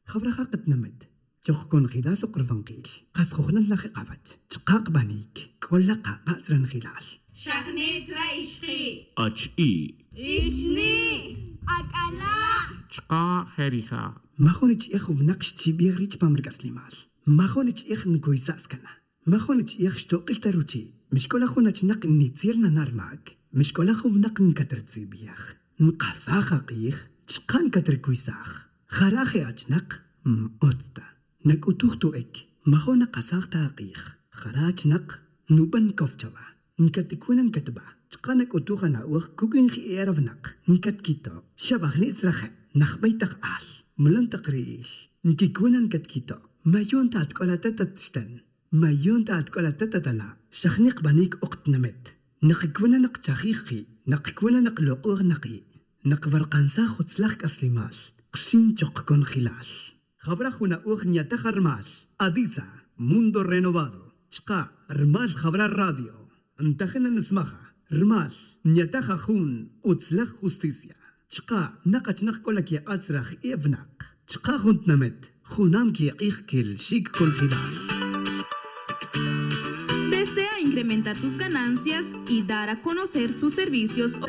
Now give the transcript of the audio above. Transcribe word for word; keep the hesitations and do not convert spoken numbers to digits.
Jawraja qatnamet choq konjilal uqrfanqil qas jujnal lajiqawach chqaq b'anik k'ola qaq'atzranjilal. Xajnetzra ixqi. Ach'i. Ixni. Ak'ala. Chqa jerija. Majonich ij wnaq xchib'ij rich pam rik'aslimal. Majonich ij nkuysa'skana. Majonich ij xtoq'il taruchi. Mixk'ola jun achnaq nitziel nanarmak. Mixk'ola jun wnaq nkatertzib'ij. Nqasaj aq'ij chqa nkaterkuysaj. Jaraje achnaq m'otzta. Nak'utuj to'ek. Majona qasaj ta aq'ij. Jara achnaq nub'an kofchaba. Nkatikuna nkatb'a. Chqa nak'utuj ana'uj kukinji eravnaq. Nkatkito. Xab'ajnitzraje. Najb'aytaq al. Mlon taq ri'il. Nkikuna nkatkito. Mayon ta atk'olatata txtan. Mayon ta atk'olatata tala. Xajniq b'anik uqtnamet. Naqikuna naqchajij qi'. Naqikuna naqloq'uj naqi'. Naqbarqansaj jutzlaj k'aslimal. Qxin choq konjilal. Jabra juna uj ñataja rmal. Adisa, Mundo Renovado. Chqa, rmal Jabra Radio. Ntajena nismaja. Rmal, ñataja jun, utzlaj justicia. Chqa, naqachnaq k'ola kiq'atzraj ibnaq. Chqa juntnamet, junam kiq'ij kel xik konjilal. Desea incrementar sus ganancias y dar a conocer sus servicios.